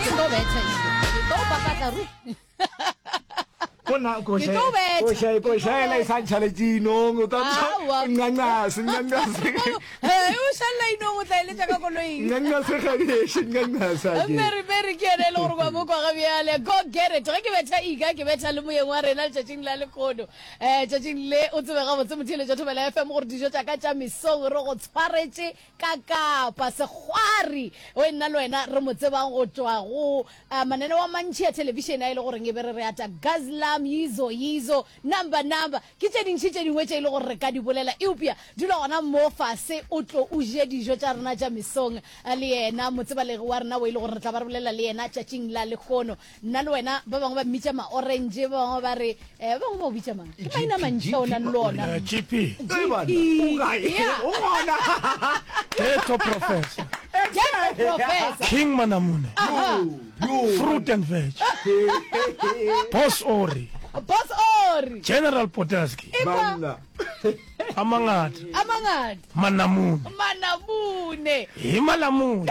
Ke tlo betha ilo. Ke tlo papatla ru. Kona Ke tlo betha. koša koša ela e sa ntšhaletše inong o tla Aowa. ncancase ncancase He, o šalela inong o tla eletša ka koloing. ncancase gadiše ncancase ake Mary Mary ke yena e le gore kwa mo kwa ga bjale go get it ge ke betha ika ke betha le moyeng wa rena letšatšing la lekgono um tšatšing le o tsebe gabotse motheeletša thobela fm gore dijo tša ka tša mesong re go tshwaretše Ka Kapa, Sekgwari o e nna le wena re mo tsebang go tšwa go mananeo a mantši a thelebišene a e le goreng e be re re ata Guzzlam, Yizo Yizo, Number Number, ke tše dintši tše dingwe tše e le gore re ka di bolela. Eupša dula gona mo fase o tlo o je dijo tša rena tša mesong le yena motsebalegi wa rena o e le gore re tla ba re bolela le yena tšatšing la lehono. Nna le wena, ba bangwe ba mmitša ma-orange, ba bangwe ba re, eh, ba bangwe ba o bitša mang? Ke maina a mantši ao nang le ona. Eh, GP. GP. Yeah. O gona. Ghetto Professor. Ghetto Professor. King Manamune. Aha. Fruit and veg. Boss Ori. Boss Ori. General Potaski. Banna. A mangata. A mangata. Manamune. Manamune. Hi malamune.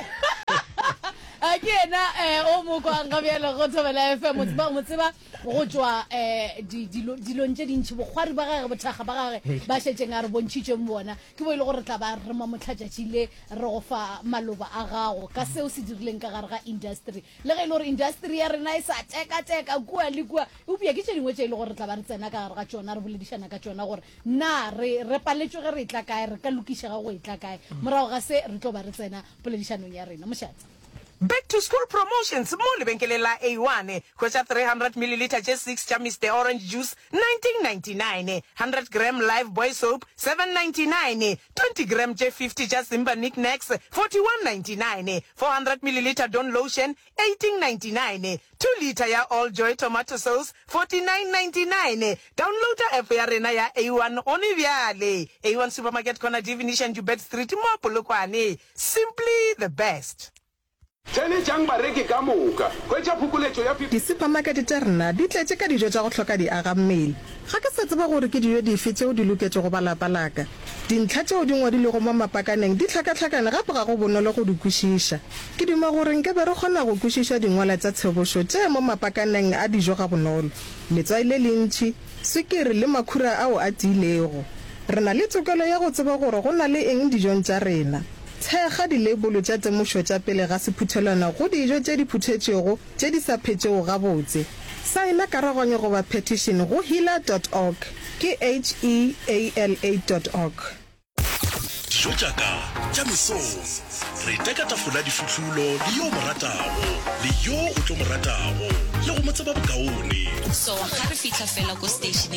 A ke yena eh, o mo kwang ga bjale go Thobela FM o tseba mo tseba go tšwa eh, di- dilo- dilong tše dintši bokgwari ba gage bothakga ba gage ba šetšeng a re bontšhitšeng bona ke bo e le gore re tla ba re mo mohlatšatši le re go fa maloba a gago ka seo se dirileng ka gare ga industry le ge e le gore industry ya rena e sa tekateka kua le kua eupša ke tše dingwe tše e le gore re tla ba re tsena ka gare ga tšona re boledišana ka tšona gore Na re, re paletšwe ge re etla kae? Re ka lokišega go etla kae? Morago ga se, re tlo ba re tsena poledišanong ya rena. Mošate. Back to school promotions mo lebenkeleng la A1. Hwetša 300 millilitre tše six tša Mister Orange Juice, 1999, 100 gram Lifebuoy soap, 799, 20 gram tše 50 tša Simba Nic Nacs, 4199, 400 millilitre Dawn lotion, 1899, 2 litre ya All Joy tomato sauce, 49.99. Downloada app ya rena ya A1 gone bjale. A1 Supermarket Corner Divination Joubert Street mo Polokwane. Simply the best. Theeletšang bareki ka moka. Hwetša phokoletšo ya 50. Disupamakete tša rena di tletše ka dijo tša go hloka diagammele. Ga ke sa tseba gore ke dijo dife tšeo di loketšego ba lapa la ka. Dintlha tšeo di ngwadilwego mo mapakaneng di hlakahlakane gape ga go bonolo go di kwešiša. Ke duma gore nke be re kgona go kwešiša dingwala tša tshebošo tše mo mapakaneng a dijo gabonolo, letswai le lentši, swikiri le makhura ao a tiilego. Re na le tokelo ya go tseba gore go na le eng dijong tša rena. Thekga dileibolo tša temošo tša pele ga sephuthelwana go dijo tše di phuthetšwego tše di sa phetšego gabotse. Saena karoganyo goba petition go heala dot org, ke H-E-A-L-A dot org. Dijo tša ka tša mesong. Re teka tafola difuhlulo le yo o mo ratago, le yo o tlo mo ratago, le go mo tseba bokaone. So ga re fihla fela ko stationeng.